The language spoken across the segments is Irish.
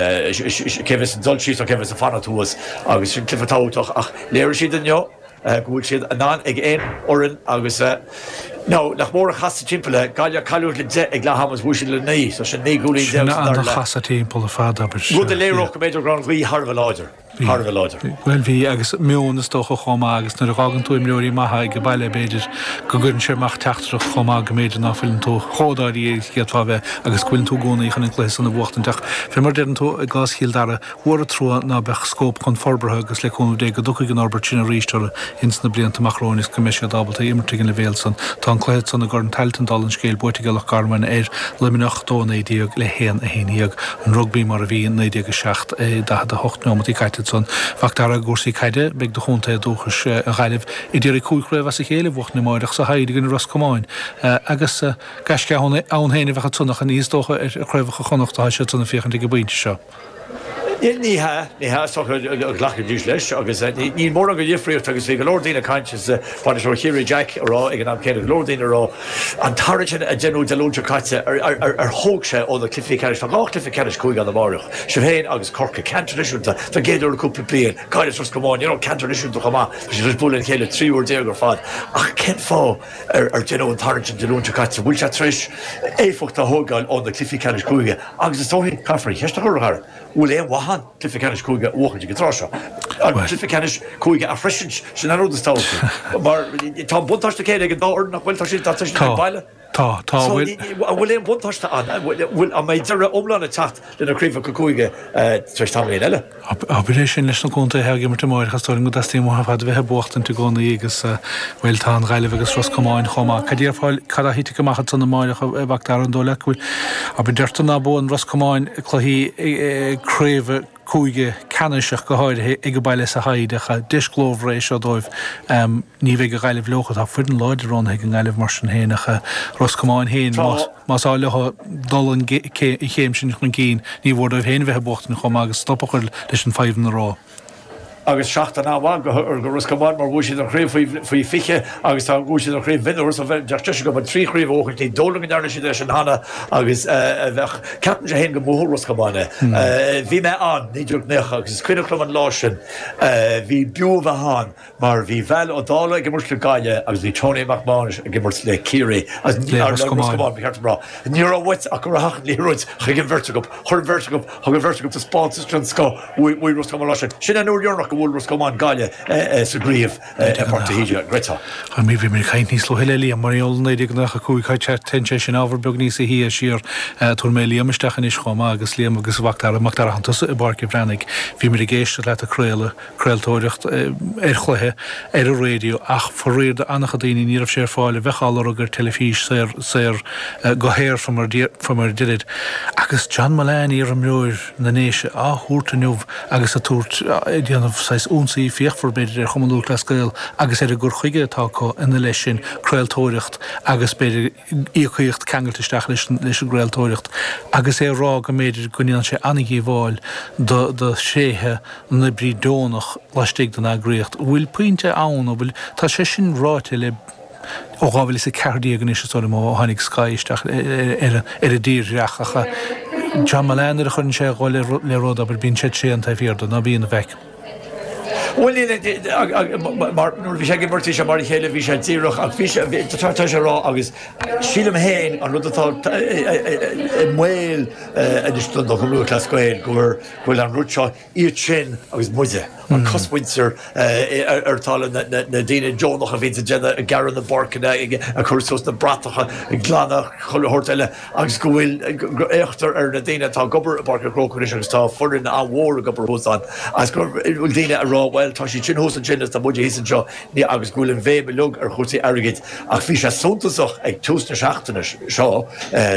Cé bheas ag dul síos nó cé bheas ag fanacht thuas agus sin cluiche tábhachtach ach léirigh siad inniu go bhfuil siad in ann ag aon fhoireann agus now nach mór an chasadh timpeall é, Gaillimh cailleadh le 10 ag leath ama is bhuaigh siad le 9 so sin 19 gcúilín Sin sa dara leath. an-chasadh timpeall ar fad, abair. Rud a léireodh go mb'fhéidir go raibh an ghaoth thar a bheith láidir. Thar a bheith láidir. Bhuel bhí, agus meon is dócha chomh maith agus nuair a dh'fhágann tú imreoirí maithe ag an baile b'fhéidir go gcuireann sé amach teachtaireacht chomh maith go mb'fhéidir ná fuileann tú chomh dáiríre is a d'fhéadfá a bheith agus go bhfuileann tú i gcónaí chun an cluiche san a bhuachtaint ach fé mar a deireann tú i gcás Chill Dara mhór an trua ná beadh scóip chun forbartha agus le cúnamh Dé go dtiocfaidh an fhorbairt sin arís orthu ins na blianta amach romhainn is go mbeidh siad ábalta imirt ag an leibhéal san. Tá an cluiche san i gCorn Tailteann dála an scéil buaite ag Loch Garman ar Luimneach 2 19 le 1 11. An rugbaí mar a bhí i 1907, 48 neomataí caite ansan. Mhac Dara i gcúrsaí caide, beidh do chontae dúchais, an Ghaillimh, ag iarraidh 5 chraobh as a chéile a bhuachtaint amáireach sa hIde i gcoinne Ros Comáin. Agus gaisce ann féin a bheadh ansan ach ní is dócha ar chraobhacha Chonnacht atá siad san ag féachaint ag an bpointe seo. Ní hea, ní hea, is dócha go nglacfaidís leis agus níl mórán de dhifríocht agus bhí go leor daoine ag caint is bainisteoir Chiarraí Jack ag rá ag an am céanna, go leor daoine ag rá an tarraingt sin a deineadh Dé Luain seo caite ar thóg sé ó na cluichí ceannais, tá 2 chluiche ceannais cúige ann amáireach, sibh féin agus Corcaigh, ceann traidisiúnta don gcéad uair le cúpla bliain, Gaillimh is Ros Comáin, you know, ceann traidisiúnta chomh maith, tá siad tar éis bualadh lena chéile 13 uair ar fad ach cén fáth ar deineadh an tarraingt sin Dé Luain seo caite, bhfuil sé tar éis éifeacht a thógáil ó na cluichí ceannais cúige Agus is dóichí, caithfear an cheist a chur, a Dhara, bhfuil aon mhaith ann cluiche ceannais cúige a bhuachaint ag an tráth seo? An cluiche ceannais cúige a shroisint, sin an rud is tábhachtaí. Mar tá an buntáiste céanna ag an dá fhoireann, nach bhfuil? Tá siad, tá siad ag baile. Tá, tá. So, an bhfuil aon bhuntáiste ann? An bhfuil, an mbeidh deireadh iomlán ag teacht le na craobhacha cúige tar éis tamaillín eile? Abair é sin leis na contaetha ag imirt amáireach, is dóigh liom go dteastaíonn uathu ar fad a bheith ag buachtaint i gcónaí agus, bhuel, tá an Ghaillimh agus Ros Comáin chomh maith. Cad déarfá, cad a thitfidh amach ansan amáireach, a Mhac Dara, an dóigh leat go bhfuil, abair, deirtear ná buann Ros Comáin cluichí craoibhe cúige ceannais ach go háirithe ag an baile sa hIde ach deis ghlórmhar é seo dóibh. Ní bheidh an Ghaillimh leofa, tá foireann láidir roghnaithe ag an nGaillimh mar sin féin ach Ros Comáin féin, más. Más áil leo dul an chéim sin chun cinn, ní mhór dóibh féin a bheith ag buachtaint chomh maith agus stop a chur leis an fadhbanna a rá. Agus seachtain an-mhaith do Ros Comáin mar bhuaigh siad an chraobh faoi 20 agus tá bhuaigh siad an chraobh mhionúr so bheadh deis acu an 3 chraobh a bhuachaint. Ní dóigh liom go ndearna siad é sin cheana agus bheadh, ceapaimse féin go mbuafadh Ros Comáin é. Bhí mé ann 1990 agus is cuimhneach liom an lá sin, bhí b'fhiú a bheith ann Mar bhí Val Ó Dálaigh ag imirt le Gaillimh agus bhí Tony Mac Mánais ag imirt le Ciarraí, agus le Ros Comáin, ba cheart dom rá. Ní raibh uait ach go rachadh an liathróid chuig an bheirt acu. Chuir an bheirt acu, thug an bheirt acu taispeántas den scoth uaidh Ros Comáin an lá sin. Sin an uair dheireanach go bhuail Ros Comáin Gaillimh sa gcraobh i bPáirc de hÍde, an gcreidfeá. Bhí mé ag caint níos luaithe le Liam mar gheall ar 1995, téann sé sin ábhar beag níos sia siar. Tabharfaidh mé Liam isteach anois chomh maith agus Liam agus Mhac Dara, Mac Dara, tánn tusa i bPáirc an Bhreathnaigh. Bhíomar ag éisteacht leat ag craoladh. craoltóireacht ar chluiche ar an raidió ach faraor do an-chuid daoine ní raibh sé ar fáil a bheadh á lorg ar teilifís saor saor go haer fá mar a deirid. Agus John Mullane, iarimreoir na nDéise, á thabhairt inniu agus ag tabhairt ag déanamh saghas ionsaí fíochmhar b'fhéidir ar Chumann Lúthchleas Gael agus ar an gcur chuige atá acu ina leith sin, craoltóireacht agus b'fhéidir íocaíocht ceangailte isteach leis an gcraoltóireacht agus é ag rá go mb'fhéidir go ndéanann sé an-dhíobháil do thréithe an oibrí deonach laistigh den eagraíocht. An bhfuil pointe ann, an bhfuil, tá sé sin ráite le ó 2014 anois is dóigh liom ó tháinig Sky isteach ar an dtírdhreach ach John Mullane nuair a chuireann sé a ghoil le rud, abair, bíonn sé tréan taobh thiar de, ná bíonn, a mheic? Bhuel, níl, mar nuair a bhí sé ag imirt, bhí sé mar a chéile, bhí sé díreach, ach bhí sé, tá sé ag rá agus sílim féin an rud atá i mbaol anois don Chumann Lúthchleas Gael go bhfuil an rud seo, iad sin agus muide, an cosmhuintir ar talamh, na daoine deonacha a bhíonns ag déanamh, ag gearradh na bpáirceanna, ag cur suas na bratacha, ag glanadh chuile shórt eile agus go bhfuil, go bhféachtar ar na daoine atá ag obair i bPáirc an Chrócaigh anois agus tá foireann an-mhór ag obair thuas ann agus go bhfuil daoine ag rá bhuel tá siad sin thuas ansin agus tá muide thíos anseo agus go bhfuil an bhéim uilig ar chúrsaí airgid ach bhí sé suntasach ag tús na seachtaine seo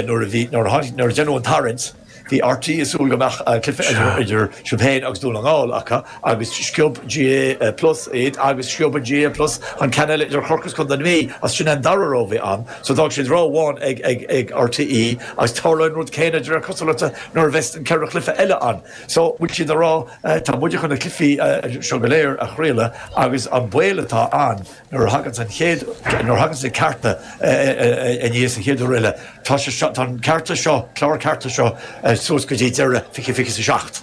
nuair a bhí, nuair a tháinig, nuair a deineadh an tarraingt. Bhí RTÉ ag súil go mbeadh cluiche idir sibh féin agus Dún na nGall acu agus sciob GAA Plus iad agus sciob an GAA Plus an ceann eile idir Chorcaigh is Contae na Mí agus sin an dara rogha a bhí ann so d'fhág siad rogha amháin ag RTÉ agus tarlóidh an rud céanna de réir cosúlachta nuair a bheas an 4 chluiche eile ann. So bhfuil siad ag rá tá muide chun na cluichí seo go léir a chraoladh agus an baol atá ann Nuair a thaganns an chéad, nuair a thaganns na cearta aníos an chéad uair eile, tá sé seo, tá an cearta seo, clár cearta seo. suas go dtí deireadh 2027.